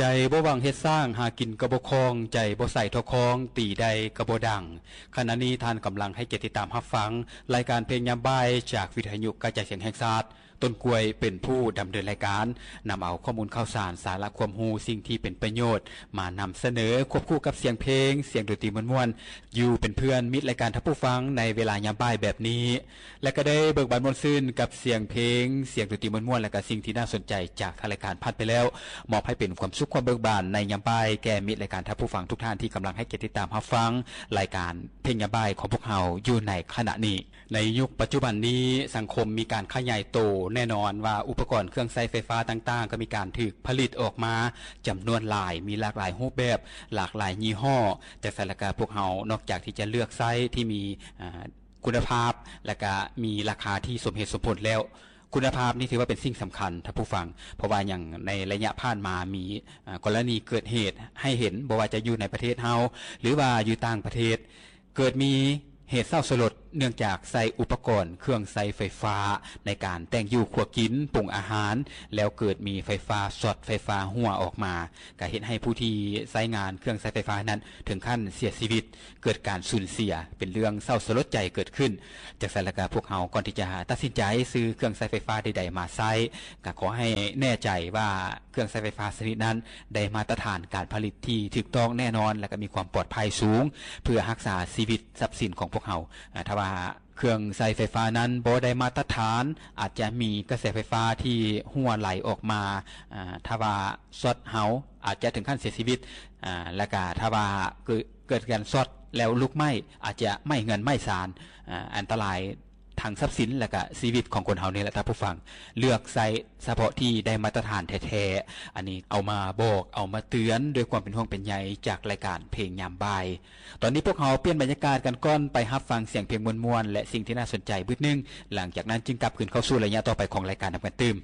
ໃຈບໍ່ຫວັງເຮັດສ້າງ ຫາກິນກໍບໍ່ຄ່ອງ ໃຈບໍ່ໃສ່ທໍ່ຄອງ ຕີໄດ້ກໍບໍ່ດັງ. ຂະນະນີ້ທ່ານກຳລັງໃຫ້ກຽດຕິດຕາມຮັບຟັງ ລາຍການເພງຍາມບ່າຍ ຈາກວິທະຍຸກະຈາຍສຽງແຫ່ງຊາດ. ຕົ້ນກ້ວຍເປັນຜູ້ດຳເນີນລາຍການ, ນຳເອົາຂໍ້ມູນຂ່າວສານ, ສາລະຄວາມຮູ້, ສິ່ງທີ່ເປັນປະໂຫຍດ ມານຳສະເໜີ ຄວບຄູ່ກັບສຽງເພງ, ສຽງດົນຕີມ່ວນໆ ຢູ່ເປັນເພື່ອນມິດລາຍການທ່ານຜູ້ຟັງ ໃນເວລາຍາມບ່າຍແບບນີ້. ແລະ ກໍໄດ້ເບີກບານມ່ວນຊື່ນກັບສຽງເພງ, ສຽງດົນຕີມ່ວນໆ ແລະ ກະສິ່ງທີ່ໜ້າສົນໃຈຈາກທາງລາຍການຜ່ານໄປແລ້ວ, ມອບໃຫ້ເປັນຄວາມສຸກຄວາມເບີກບານໃນຍາມບ່າຍ ແກ່ມິດລາຍການທ່ານຜູ້ຟັງທຸກທ່ານທີ່ກຳລັງໃຫ້ກຽດຕິດຕາມຮັບຟັງລາຍການເພງຍາມບ່າຍຂອງພວກເຮົາຢູ່ໃນຂະນະນີ້. ໃນຍຸກປັດຈຸບັນນີ້, ສັງຄົມມີການຂະຫຍາຍໂຕ, ແນ່ນອນວ່າອຸປະກອນເຄື່ອງໃຊ້ໄຟຟ້າຕ່າງໆ ກໍມີການຖືກຜະລິດອອກມາຈຳນວນຫຼາຍ, ມີຫຼາກຫຼາຍຮູບແບບ, ຫຼາກຫຼາຍຍີ່ຫໍ້. ຈັ່ງຊັ້ນລະກະພວກເຮົາ ນອກຈາກທີ່ຈະເລືອກໃຊ້ທີ່ມີ ອາ ຄຸນນະພາບ ແລະກະມີລາຄາທີ່ສົມເຫດສົມຜົນແລ້ວ, ຄຸນນະພາບນີ້ຖືວ່າເປັນສິ່ງສຳຄັນທ່ານຜູ້ຟັງ, ເພາະວ່າຫຍັງ ໃນໄລຍະຜ່ານມາມີ ອາ ກໍລະນີເກີດເຫດໃຫ້ເຫັນ, ບໍ່ວ່າຈະຢູ່ໃນປະເທດເຮົາ ຫຼືວ່າຢູ່ຕ່າງປະເທດ, ເກີດມີເຫດເສົ້າສະຫຼົດ ເນື່ອງຈາກໃຊ້ອຸປະກອນເຄື່ອງໃຊ້ໄຟຟ້າໃນການແຕ່ງຢູ່ຄົວກິນ, ປຸງອາຫານ, ແລ້ວເກີດມີໄຟຟ້າຊັອດ, ໄຟຟ້າຮົ່ວອອກມາ, ກະເຮັດໃຫ້ຜູ້ທີ່ໃຊ້ງານເຄື່ອງໃຊ້ໄຟຟ້ານັ້ນເຖິງຂັ້ນເສຍຊີວິດ. ເກີດການສູນເສຍ ເປັນເລື່ອງເສົ້າສະຫຼົດໃຈເກີດຂຶ້ນ. ຈັ່ງຊັ້ນລະກະພວກເຮົາ ກ່ອນທີ່ຈະຕັດສິນໃຈຊື້ເຄື່ອງໃຊ້ໄຟຟ້າໃດໆມາໃຊ້, ກະຂໍໃຫ້ແນ່ໃຈວ່າເຄື່ອງໃຊ້ໄຟຟ້າຊະນິດນັ້ນ ໄດ້ມາດຕະຖານການຜະລິດທີ່ຖືກຕ້ອງແນ່ນອນ ແລະກະມີຄວາມປອດໄພສູງ ເພື່ອຮັກສາຊີວິດຊັບສິນຂອງພວກເຮົາ. ອາ ຖ້າວ່າເຄື່ອງໃຊ້ໄຟຟ້ານັ້ນບໍ່ໄດ້ມາດຕະຖານ, ອາດຈະມີກະແສໄຟຟ້າທີ່ຮົ່ວໄຫຼອອກມາ, ອາ ຖ້າວ່າຊັອດເຮົາ ອາດຈະເຖິງຂັ້ນເສຍຊີວິດ, ອາ ແລະກະຖ້າວ່າເກີດ ເກີດການຊັອດແລ້ວລຸກໄໝ້ ອາດຈະໄໝ້ເຮືອນໄໝ້ຊານ, ອາ ອັນຕະລາຍທັງຊັບສິນ ແລະກະຊີວິດຂອງຄົນເຮົານີ້ແຫຼະທ່ານຜູ້ຟັງ. ເລືອກໃຊ້ສະເພາະທີ່ໄດ້ມາດຕະຖານແທ້ໆ. ອັນນີ້ເອົາມາບອກ, ເອົາມາເຕືອນດ້ວຍຄວາມເປັນຫ່ວງເປັນໃຍຈາກລາຍການເພງຍາມບ່າຍ. ຕອນນີ້ພວກເຮົາປ່ຽນບັນຍາກາດກັນກ່ອນ, ໄປຮັບຟັງສຽງເພງມ່ວນໆ ແລະ ສິ່ງທີ່ໜ້າສົນໃຈບຶດໜຶ່ງ, ຫຼັງຈາກນັ້ນຈຶ່ງກັບຄືນເຂົ້າສູ່ໄລຍະຕໍ່ໄປຂອງລາຍການນຳກັນຕື່ມ.